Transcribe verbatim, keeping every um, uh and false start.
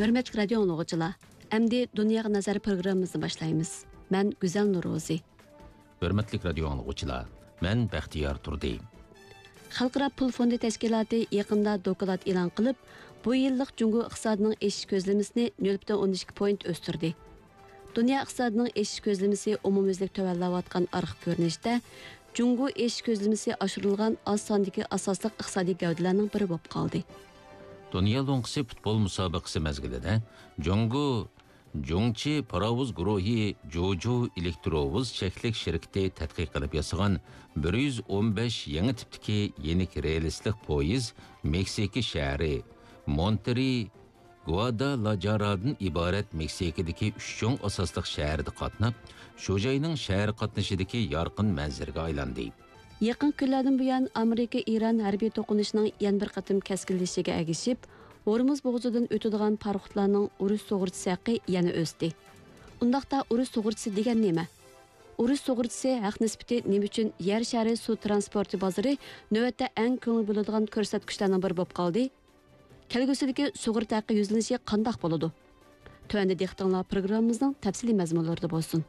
ھۆرمەتلىك رادىيو ئاڭلىغۇچىلار، ئەمدى دۇنياغا نەزەر پروگراممىمىزنى باشلايمىز. مەن گۈزەل نورۇزى. ھۆرمەتلىك رادىيو ئاڭلىغۇچىلار، مەن بەختىيار تۇردى. خەلقئارا پۇل فوندى تەشكىلاتى يېقىندا دوكلات ئېلان قىلىپ، بۇ يىللىق جۇڭگو ئىقتىسادىنىڭ ئېشىش كۆزلىمىسىنى نۆل پۈتۈن ئوندىن ئىككى پوينت ئۆستۈردى. دۇنيا ئىقتىسادىنىڭ ئېشىش كۆزلىمىسى ئومۇميۈزلۈك تۆۋەنلەۋاتقان ئارقا كۆرۈنۈشتە، جۇڭگو ئېشىش كۆزلىمىسى ئاشۇرۇلغان ئاز ساندىكى ئاساسلىق ئىقتىسادىي گەۋدىلەرنىڭ بىرى بولۇپ قالدى. دۇنيا لوڭقىسى پۇتبول مۇسابىقىسى مەزگىلىدە جۇڭگو جۇڭچى پاراۋۇز گۇرۇھى جۇجۇ ئېلېكتروۋۇز چەكلىك شىركىتى تەتقىق قىلىپ ياسىغان بىر يۈز ئون بەش يېڭى تىپتىكى يېنىك رېلىسلىق پويىز مېكسىكا شەھىرى مونتېرى گۇادالاجارادىن ئىبارەت مېكسىكىدىكى ئۈچ چوڭ ئاساسلىق شەھەردە قاتناپ، شۇ جاينىڭ شەھەر قاتنىشىدىكى يارقىن مەنزىرىگە ئايلاندى. يېقىنقى كۈنلەردىن بۇيان، ئامېرىكا ئىران ھەربىي توقۇنۇشىنىڭ يەنە بىر قېتىم كەسكىنلىشىشىگە ئەگىشىپ، ھورمۇز بوغۇزىدىن ئۆتىدىغان پاراخوتلارنىڭ ئۇرۇش سۇغۇرتىسى ھەققى يەنە ئۆستى. ئۇنداقتا، ئۇرۇش سۇغۇرتىسى دېگەن نېمە؟ ئۇرۇش سۇغۇرتىسى ھەق نىسبىتى نېمە ئۈچۈن يەر شارى سۇ ترانسپورتى بازىرى نۆۋەتتە ئەڭ كۆڭۈل بۆلىدىغان كۆرسەتكۈچلەرنىڭ بىرى بولۇپ قالدى؟ كەلگۈسىدىكى سۇغۇرتا ھەققى يۈزلىنىشى قانداق بولىدۇ؟ تۆۋەندە دىققىتىڭلار پروگراممىمىزنىڭ تەپسىلىي مەزمۇنلىرىدا بولسۇن.